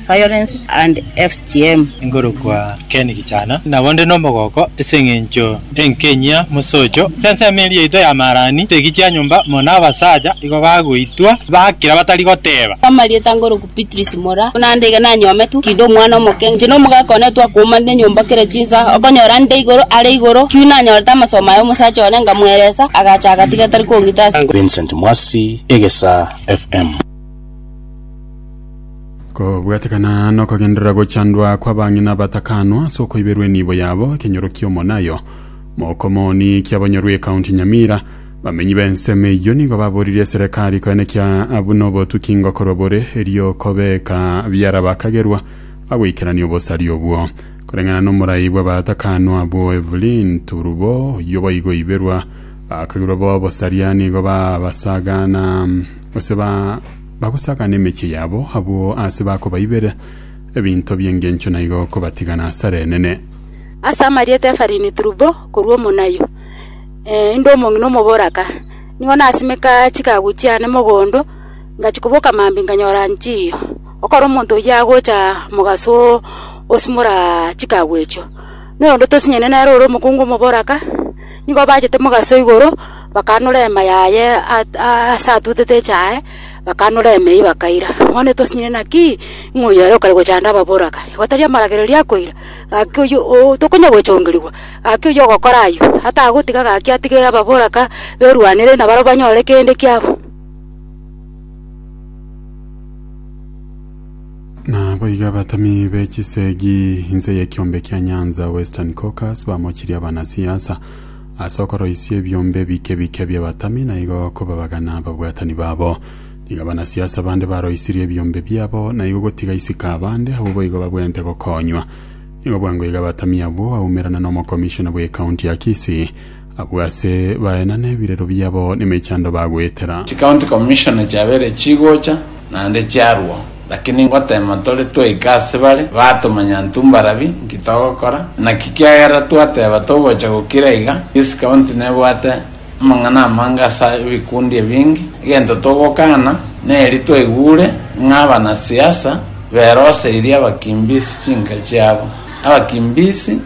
Violence and FGM. Nkorokwa Ken Gichana, nabo nde nomogoko ase engencho enkenyia mosocho. Ase ensemo eria yaito ya Marani, chisegi chia nyomba mono abasacha igo bagoitwa bakira batari goteba. Amarieta nkorokwa Beatrice Mora, buna nde iga nanyometwe, kinde omwana omoke, inche na omogaka one twakoumana enyomba kera chinsa, okonyora nde igoro are igoro, ki nanyorete amasomo aya omosacha one nkamweresa, agacha agatiga tari kong'ita ase. Vincent Mwasi, Egesa FM. Kobwatekana nokogenderera gochandwa kw'abang'ina abatakanwa ase okoiberwa enibo yabo ekenyoro ki'Omonayo, Mokomoni kiabonyorwa ekaunti Nyamira, bamenyi b'ensemo eyio nigo baboririe eserekari koenekia buna obotuki ngokorwa bore erio kobeka biara bakagerwa bagoikerania obosaria obwo. Koreng'ana nomorai bw'abatakanwa abwo Evelyn Turubo oyio boigo oiberwa bakagerwa bobosaria nigo babasagana gose ba Bagosakana emechie yabo abwo aase bakobaibera ebinto bi'engencho na igo kobatigana asare enene. Ase amarieta Efarini Trubo korwa Omonayo, inde omong'ina omoboraka, nigo nasimeka chikagu chiane mogondo, ngachia koboka mambia nkanyora nchiyo. Ekero omonto oyio agocha mogaso osimora chikagu echio. Na oyonde tosinyene nere ore omokungu omoboraka, nigo bachete mogaso igoro, bakanora ema yaye ase atutete echae, bakanora ema eyio bakaira. Bono tosinyene naki, ng'a oyo ere okare gochanda ababoraka, igo tari amaragererio akoira, gaki oyio oo tokonya gochongerigwa, gaki oyio ogokora ayio, atagotiga gaki atige ababoraka berwanere nabarabwo banyore kende kiabo. Naboigo abatami be chisegi inse y'ekiombe kia Nyanza Western Caucus bamochirie abanasiasa ase okoroisia ebiombe bike bike bi'abatami na igo kobabagana ababwatani babo. Nigo abanasiasa bande baroisirie ebiombe biabo na igo gotiga isiko abande abwo boigo babwenerete gokonywa. Nigo bwango iga abatami abwo baumerana n'omokomishona bw'ecounty ya Kisii Abwo ase baenane ebirero biabo nemechando bagoetera. Chicounty commissioner chiabeire chigocha naende chiarwao, lakini ngotema tore twaika ase bare batomanya intwe mbarabi nki togokora. Naki kiagera twateba togocha gokira iga, this county nebwate amang'ana amange ase ebikundi ebinge. Egento togokana neri twaigure ng'a abanasiasa beroseirie abakimbisi chinka chiabo. Abakimbisi.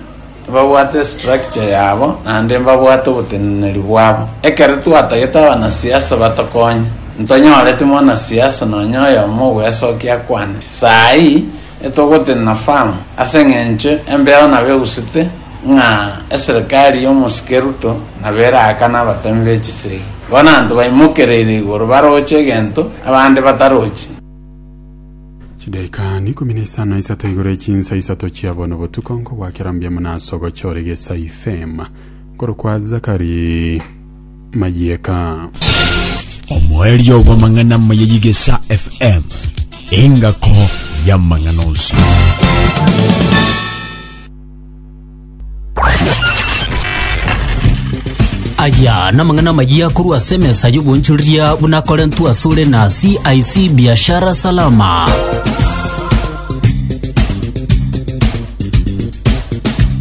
Mbabwate estructure yabo naende mbabwate oboteneneri bwabo. Ekero twatagete abanasiasa batokonye, ntonyoreti mwanasiasa nonya oyomo ogwesokia akwane. Saii etogotenena firm ase eng'encho embeo nabo egusete ng'a eserikari y'omosike Ruto nabo eraakane abatemi be chisegi. Bono abanto baimokereire igoro baroche egento abande batarochi. Chidaika n'ikomi na isano na isato igoro echinsa isato chia bono botuko nkogwakera mbuya mono ase ogochora Egesaai FM. Nkorokwa Zakari Mayieka. Omoerio bw'amang'ana amaya y'Igesa FM, engako y'amang'ana onsi. Aya namang'ana amayia korwa ase emesa y'obonchoreria buna akorentwe asore na CIC Biashara Salama.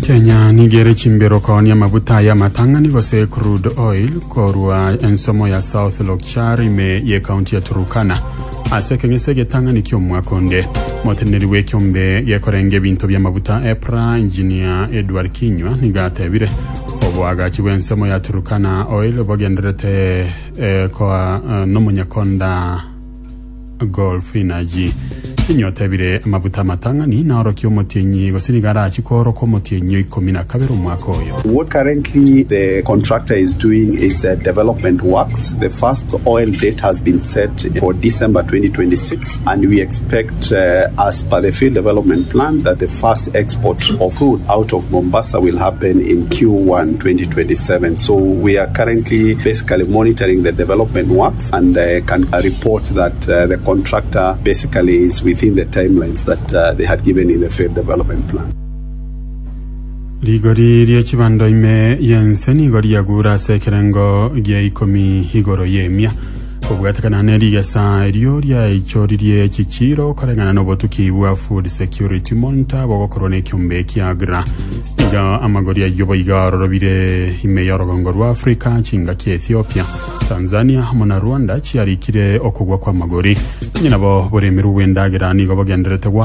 Kenya nigo ere chimbero koonia amaguta aya amatang'ani gose crude oil korwa ensomo ya South Lokchar ime ye county ya Turukana Ase ekeng'ese egetang'ani ki'omwaka onde, omoteneneri bw'ekeombe gekorenga ebinto bi'amabuta EPRA, Engineer Edward Kinyua nigo atebire, Oboagachi bw'ensemo ya Turkana Oil bogendererete eh, koa eh, nomonyakonda Gulf Energy. Kinyua otebire amabuta amatang'ani naorokie omotienyi gose nigo arachi kooroka omotienyi o ikomi na kabere omwaka oyo. What currently the contractor is doing is development works. The first oil date has been set for December 2026 and we expect as per the field development plan that the first export of crude out of Mombasa will happen in Q1 2027. So we are currently basically monitoring the development works and can report that the contractor basically is within the timelines that they had given in the field development plan. Rigori rie chibando ime y'ense nigo riagure ase ekerengo gia ikomi igoro y'emia. Kobwatekana ne rigesa erio riaichoririe chichiiro koreng'ana n'obotuki bwa Food Security Monitor bogokorwa n'ekiombe kia AGRA. Nigo amagori ayio boigo arorobire ime y'orogongo rwa Africa, chingaki Ethiopia, Tanzania amo na Rwanda chiarikire okogwa kw'amagori. Onye nabo boremerwe bw'endagera nigo bogendererete goaka.